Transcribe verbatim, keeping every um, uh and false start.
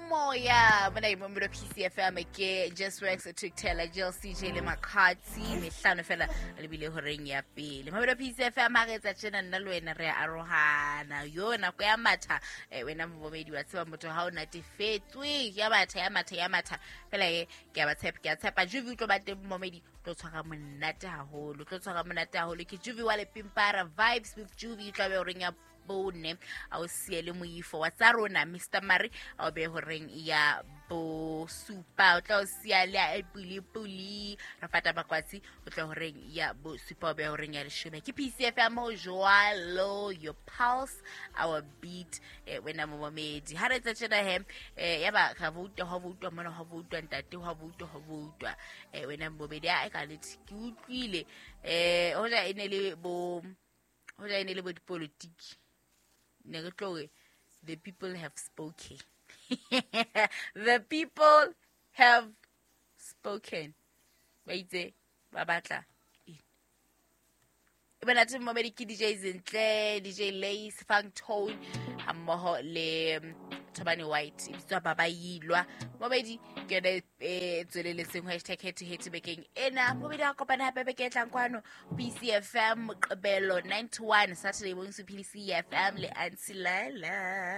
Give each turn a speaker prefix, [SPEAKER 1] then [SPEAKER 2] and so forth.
[SPEAKER 1] Moya mona e momelo P C F M ke Just Works Tukela J L C J le Makatsi mehlano fela le bile horeng ya pele. Momelo P C F M ha re etsa tjena nna le wena re arohana. Yo nako ya matha wena momedi wa tseba motho ha o natefetswe ya matha ya matha ya matha fela e ke a ba tshepa ke a tshepa Juvi o tlo ba teng momedi tlo tshwara monate haholo tlo tshwara monate haholo ke Juvi wa Lepimpara Vibes with Juvi tla be horeng ya bone a o siele moifo wa tsa rona Mister Mari a o be horeng ya bosupa o tla o siya le puli puli ra fata bakwatsi o tla horeng ya bosupa o be horeng ya leshome ke P C F M o jwalo your pulse our beat eh, wena momedi ha re tsa tjena he eh, ya ba ga voutwa ha voutwa mona ha voutwa ntate ha voutwa ha voutwa eh, wena momedi a ka le ke utlwile eh hoja e ne le bo hoja e ne le bo dipolitiki ne re tlo re the people have spoken. The people have spoken. Ba itse ba batla eng? E bona tse momedi ke D J Zinhle, D J Lace, Funk Tone hammoho le Thobane White e bitswa Baba Yilwa. Momedi ke yona e tsweleletseng hashtag head to head bekeng ena. Momedi a kopana hape beke e tlang kwano P C F M Moqebelo nine to one Saturday bonso P C F M le Aunty Lala.